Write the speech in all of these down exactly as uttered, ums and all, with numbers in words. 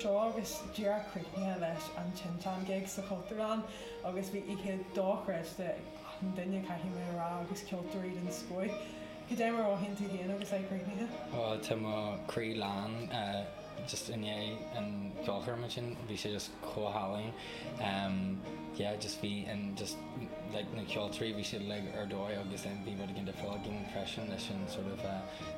Seo agus díreach críochnaithe leis an Tinteán gig sa Chultúrlann agus bhí oíche dochreidte an duine, caithfidh mé a rá, agus ceoltóirí den scoth. Cad é mar a mhothaíonn tú féin agus é críochnaithe? Ó, tá mo chroí lán just i ndiaidh an cheolchoirm sin. Bhí sé just chomh hálainn. um, yeah just bhí an just like na ceoltóirí, bhí siad like ar dóigh agus then bhí rud éigin difriúil againn freisin leis an sort of uh,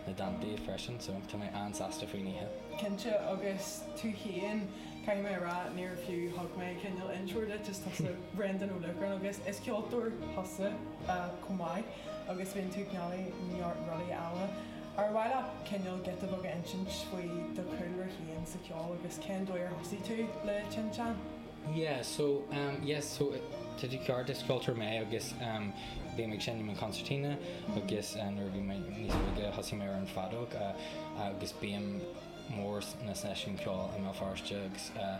na dántaí freisin, so tá mé an-sásta faoin oíche. Cinnte, agus tú féin, caithfidh mé a rá, níor fiú thug mé cineál intro duit, is tusa Brendan Ó Luachráin agus is ceoltóir thusa uh, chomh maith agus bíonn tú ag déanamh neart rudaí eile. Ar mhaith leat cineál giota beag a insint faoi do chúlra féin sa cheol agus cén dóigh ar thosaigh tú le tinteán? Yeah, so um, yes, so tá tú ceart, is ceoltóir mé agus um, bhí ag seinm an concertina agus uh, nuair a bhí mé níos óige thosaigh mé ar an feadóg uh, agus bím mór na seisiún ceoil i mBéal Feirste agus uh,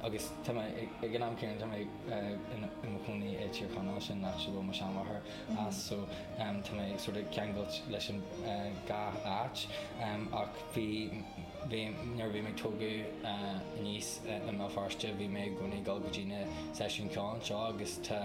agus tá mé ag an am céanna, tá mé i mo chónaí i Tír Chonaill, sin áit a bhfuil mo sheanmháthair as, so um, tá mé sort of ceangailte leis an uh, dhá áit um, ach bhí bhí nuair bhí mé tógadh uh, aníos uh, i mBéal Feirste, bhí mé i gcónaí ag dul go dtí na seisiún ceoil anseo agus tá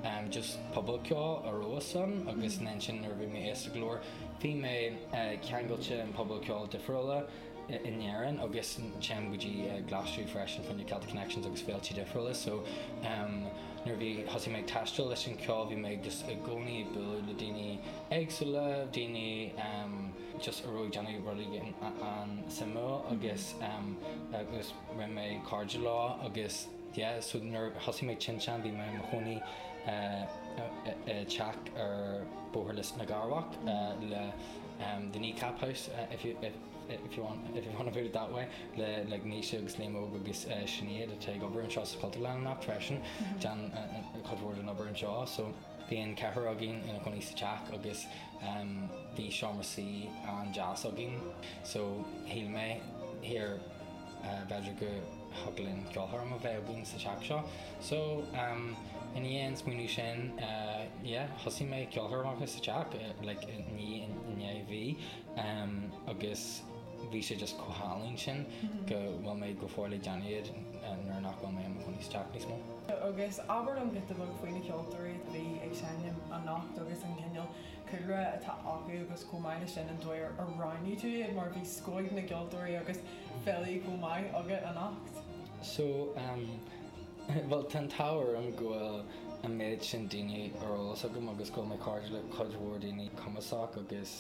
um, just pobal ceoil a raibh ann agus mm. sin nuair bhí mé aosta go leor bhí mé uh, ceangailte an pobal ceoil difriúla in Éirinn agus téim go dtí uh, Glaschú freisin fá choinne Celtic Connections agus féilte difriúla, so um, nuair bhí thosaigh mé ag taisteal leis an ceol, bhí mé just i gcónaí bualadh le daoine éagsúla, daoine um, just a raibh ag déanamh rudaí an-suimiúil agus um, agus rinne mé cairde leo agus yeah, so nuair thosaigh mé tinteán, bhí mé i mo chónaí uh, teach ar Bóthar Lios na Garbhach uh, le um, the Kneecap House, uh, if you if, if you want if you want to put it that way, le like Naoise agus Liam Óg agus uh, Sinéad atá ag obair anseo sa Chultúrlann anocht freisin, déanann cuid mhór den obair anseo. So bhí an ceathrar againn ina chónaí sa teach agus um, bhí seomra suí an-deas againn, so shíl mé here uh, b'fhéidir go thig linn ceolchoirm a bheith againn sa teach seo. So um, in ndiaidh an smaoineamh sin, uh, yeah, thosaigh mé ceolchoirmeacha sa teach uh, like ní i ndiaidh mhí um, agus bhí sé just chomh hálainn sin go bhfuil mé go fóill ag déanamh iad nuair nach bhfuil mé i mo chónaí sa teach níos mó. Agus abair liom giota beag faoi na ceoltóirí a bhí ag seinm anocht agus an cineál cúlra atá acu agus chomh maith leis sin an dóigh ar roghnaigh tú iad, mar bhí scoth na gceoltóirí agus filí chomh maith agat anocht. So um, well, tá an t-ádh orm go bhfuil an méid sin daoine ar eolas agam agus go bhfuil mé cairde le cuid mhór daoine cumasach agus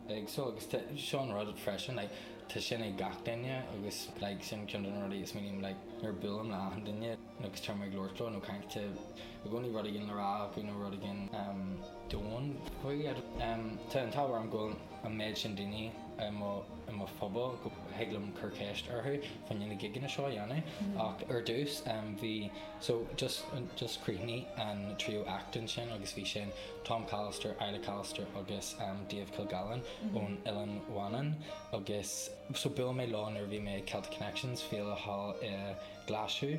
éagsúil agus seo an rud freisin, like, tá sin ag gach duine agus like, sin ceann de na rudaí is mínim, like, nuair buailim le achan duine agus tá mé ag labhairt leo nó caint i gcónaí rud éigin le rá acu nó rud éigin um, domhain faoi. um, Tá an t-ádh orm go bhfuil an méid sin daoine i mo i mo phobal go thig liom cur ceist orthu fá choinne na gigeanna seo a dhéanamh. Ach ar dtús um, bhí so just just chríochnaigh an tríú act ansin agus bhí sin Tom Callister, Isla Callister agus um, Dave Kilgallen ón Oileán Mhanann agus so buail mé leo nuair bhí mé ag Celtic Connections, féile thall i Glaschú,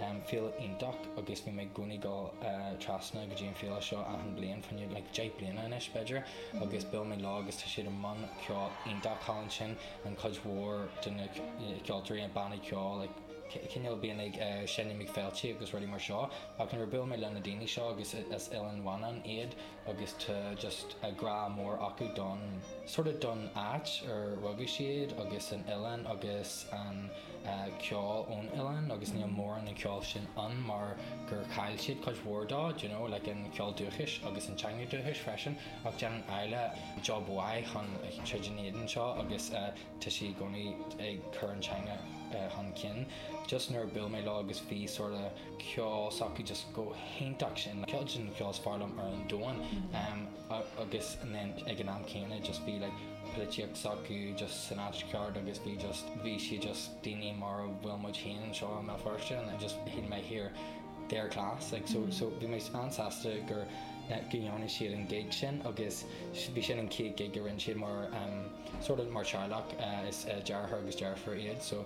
um, féile iontach, agus bhí mé i gcónaí ag dul uh, trasna go dtí an féile seo achan bliain fá choinne like, deich bliana anois b'fhéidir, agus buail mé leo agus tá siad i mbun ceol iontach thall ansin, an chuid mhór de na ceoltóirí, an bannaí ceoil, like, cineál bíonn ag uh, seinm ag féilte agus rudaí mar seo. Ach nuair buail mé le na daoine seo agus as Oileán Mhanann iad agus tá just a grá mór acu don sort of don áit ar rugadh siad agus an oileán agus an uh, ceol ón oileán, agus níl mórán an ceol sin ann mar gur chaill siad cuid mhór dó, you know, like an ceol dúchais agus an teanga dúchais freisin. Ach déanann Isla job mhaith chun tríd an éadan seo agus uh, tá sí i gcónaí ag cur an teanga uh, chun cinn. Just nuair buail mé leo agus bhí sort of ceol s'acu just go hiontach sin, ceol sin ceol is fearr liom ar an domhan um, agus then ag an am céanna just bhí like polaitíocht s'acu just san áit ceart agus bhí just bhí si just daoine mar a bhfuil muid féin anseo i mBéal Feirste and I just shíl mé here, they're class, like. so mm -hmm. So bhí mé an-sásta gur uh, go ndearna siad an gig sin agus bhí sin an chéad gig a rinne siad mar um, sort of mar teaghlach. uh, is uh, deartháir agus deirfiúr iad, so